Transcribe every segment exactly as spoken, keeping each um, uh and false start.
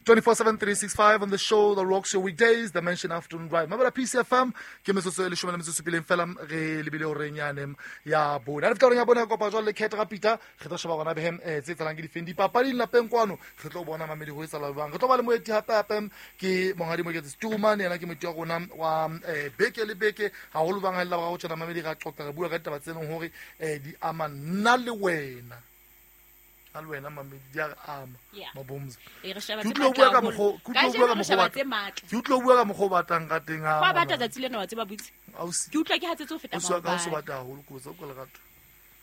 twenty-four seven three six five on the show that rocks your weekdays, the Mention Afternoon Drive. Mabela P C F M, ke metsotso e leshome le metso e supileng fela re lebile horeng yane ya bone. Ha re fihla horeng ya bone, re kopa jwale le Kate Rapita, re tlo sheba gona behem eh tse tsalang ke difeng dipapading lapeng kwano, re tlo bona mamedi ho etsahala jwang. Re tlo ba le moeti hape hape ke monghadi Moketsi Stuman, yena ke moeti wa rona wa eh beke le beke, haholo bang ha le la boraro tjena mamedi ra qoqa re bua ka ditaba tse leng hore eh di ama nna le wena. A le wena mamedi di a re ama mabomza. E re sheba Ke tse utlwa o bua ka matla mokgo- haholo. ke utlwa o Kajeno bua ka re mokgo sheba o tse batlang. matla. Ke utlwa o bua ka mokgo o batlang ka teng ha Kwa bata ngwana. tsatsi lena wa tseba butse. Ausi. Ke utlwa ke hatsetse ho feta Ausi wa ka, ausi o maobane. bata haholo, ke botsa o ka lerato.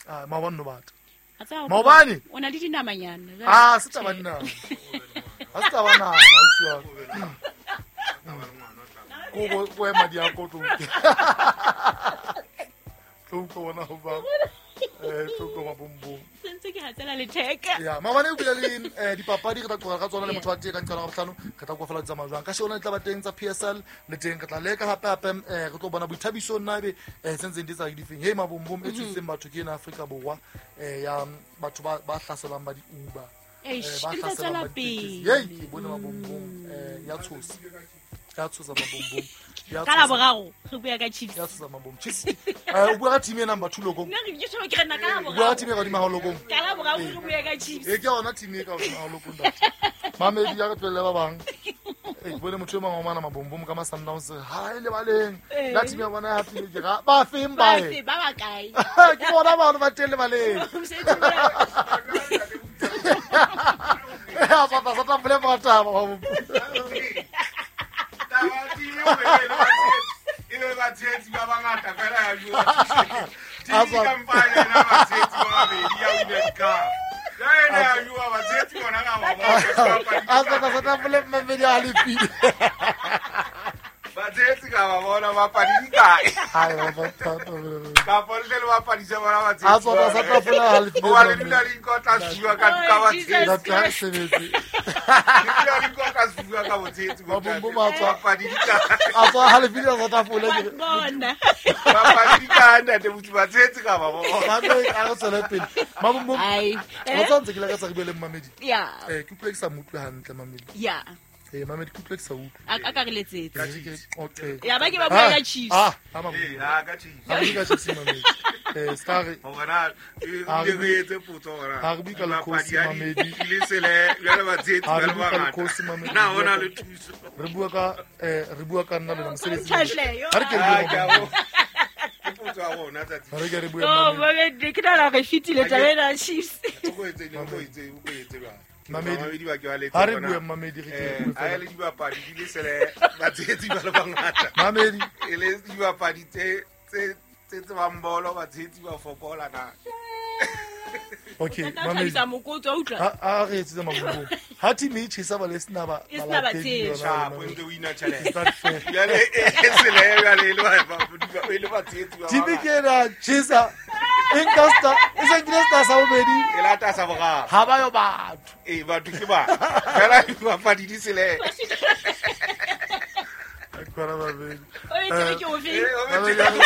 Ah, maobane no bata. A tseba hore Maobane? o na le dinamanyana. Jwale Ah, se taba tjhe. dinama. Ha se taba nama, ausi wa ka. Ko bo- ko ema di a ko tlo utlwa. Tlo utlwa bona ho ba. Eh, tlo utlwa mabombong. Se ntse ke hatsela letheka. Ya, maobane o bile le, eh, dipapadi re tla qoqa ka tsona le Yeah. motho wa teng ka nqalo ya bohlano, re tla kwa fela di tsamaya jwang. Ka shebana le taba teng tsa P S L le teng re tla leka hape hape, eh, re tlo bona boithabiso nna ebe, eh, tse ntseng di etsa difeng. Hey, mabombom e tshositseng batho ke ena Afrika Borwa, eh, ya batho ba, ba hlaselwang ba di-Uber. Eish, Eh, ba e ntse hlaselwang tswela ba ditekesi. pele. Hey, ke bone mabombom, eh, ya tshosa. Ya tshosa mabombom. Ya Ka la tshosa. boraro, re bua ka Chiefs. Ya tshosa mabombom. Chiefs. Eh, o bua ka team e number two lokong. Nna re ke tjho ke re nna ka la O bua ka boraro. team e ka hodimo ha lokong. Ka la boraro re bua ka Chiefs. E ke yona team e ka hodimo ha lokong, ntate. Mamedi ya re tlohelle ba bang. Eh, ke bone motho e mong wa ngwana mabombom ka ma-Sundowns, ha e lebaleng. Eh. La team ya bona ya hapile ke ra, ba feng ba Ba e? fe, ba ba kae? Ke bona bao ba teng lebaleng. Mosebetsi wa- Eh, a sa tla- sa tla bolella ba taba, ba bo- E be batshehetsi ba bangata fela ya bua. T V kampane ena batshehetsi ba babedi ya United Cup. Ya ena ya bua batshehetsi bona ka ba bona. A sa tla- sa tla bolella mamedi a halefile. Batshehetsi ka ba bona bapadi di kae? Hai, ba ba thata, ba ba ba. Kapa le tle le bapadise bona batshehetsi. A tswa sa tla fola halefile. Hoba le dula le inkotla sefuba ka ka Oh, batshehetsi. Jesus Ntate, ha re Christ. sebetse. Le dula le inkotla sefuba ka botshehetsi bo Mabombom ntate. a tswa. Bapadi di kae? A tswa halefile a sa tla fola, ke re. Bona. Bapadi di kae, ntate Botsi? Batshehetsi ka ba bona. Mamedi, a re tswele pele. Mabombom, Ai. wa tseba ntse ke lakatsa re bue le mmamedi. Ya. Eh, ke utlwa ke sa mo utlwe hantle, mamedi. Ya. Eh, mamedi, ke utlwa ke sa utlwe. A ka re letsetse. Ke re ke okay. Ya ba ke ba bua ka Chiefs. Ah, ah, mabombom. Eh, ha, ka Chiefs. Ha re bue ka Chiefs, mamedi. Eh, ska re Hore na, e, Ha re o bue- etse potso hore na ha re bue ka dibapadi lekgosi, ha di mamedi. le sele, jwale batshehetsi Ha ba re le bue ka bangata. lekgosi, mamedi. Na ho na le thuso? Re bua ka, eh, re bua ka nna le wena, mosebetsi. Tjhahle, yo. Ha re ke re Ah, bue ke a mabombom. bo- Ke potso ya rona tsatsi. Ha re ke re bue Oh, mamedi. mamedi, ke nahana re fetile taba ena ya Chiefs. O ko etse eng, o ko etse, o ko etse jwang? Mamedi. Mamedi ba ke ba letse Ha re hore na, bue mamedi, re ke re eh, bue ha e fela. le dibapadi di le sele, batshehetsi ba le bangata. Mamedi. E le dibapadi tse, tse, tse tsebang bolo, batshehetsi ba fokola na. Okay, Tla mamedi. thabisa mokotsi, wa utlwa? Ha, ha re etsetse mabombom. Ha team e tjhesa ba le sena ba- E sena balatedi batshehetsi. yona, Sharp, mamedi. ntse o ina tjhelete. Is that fair? Jwale, e, e sele, jwale, e le ba- ba- ba- e le batshehetsi ba Team bangata. ke ena tjhesa. E nka sta, e se nkile sta sa bobedi. E lata sa boraro. Ha ba yo batho. Ee, batho ke ba. Fela dibapadi di sele. Khona babedi. O etse ke o feng? Eh, o Mamedi, ha re-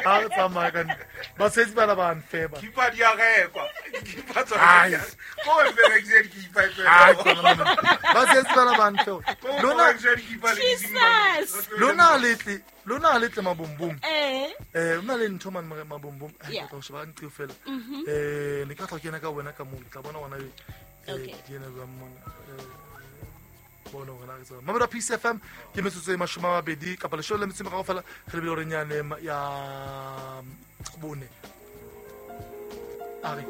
ha re tsamaya ka ntle. Batshehetsi bana ba nfeba. Keeper di a rekwa. Keeper tsona Ai. di a- Ko o mperekise di-keeper e fela. Ai, khona mamedi. Batshehetsi bana ba nfeba. Ko o Lona mperekise di-keeper le di-Zimbabwe. Jesus. lona ha le tle, lona ha le tle mabombom. Eh. Eh, hona le ntho mane more mabombom. Ai, Yeah. ke tla ho sheba ka ntho fela. Eh, ne ke tla kena ka wena ka moo, ke tla bona gona eh, Okay. di ena jwang mona. Eh, bona hore na re tseba. Mamedi wa P C F M ke metsotso e mashome a mabedi kapa leshome le metso e meraro fela re lebile horeng yane ya bone. A re.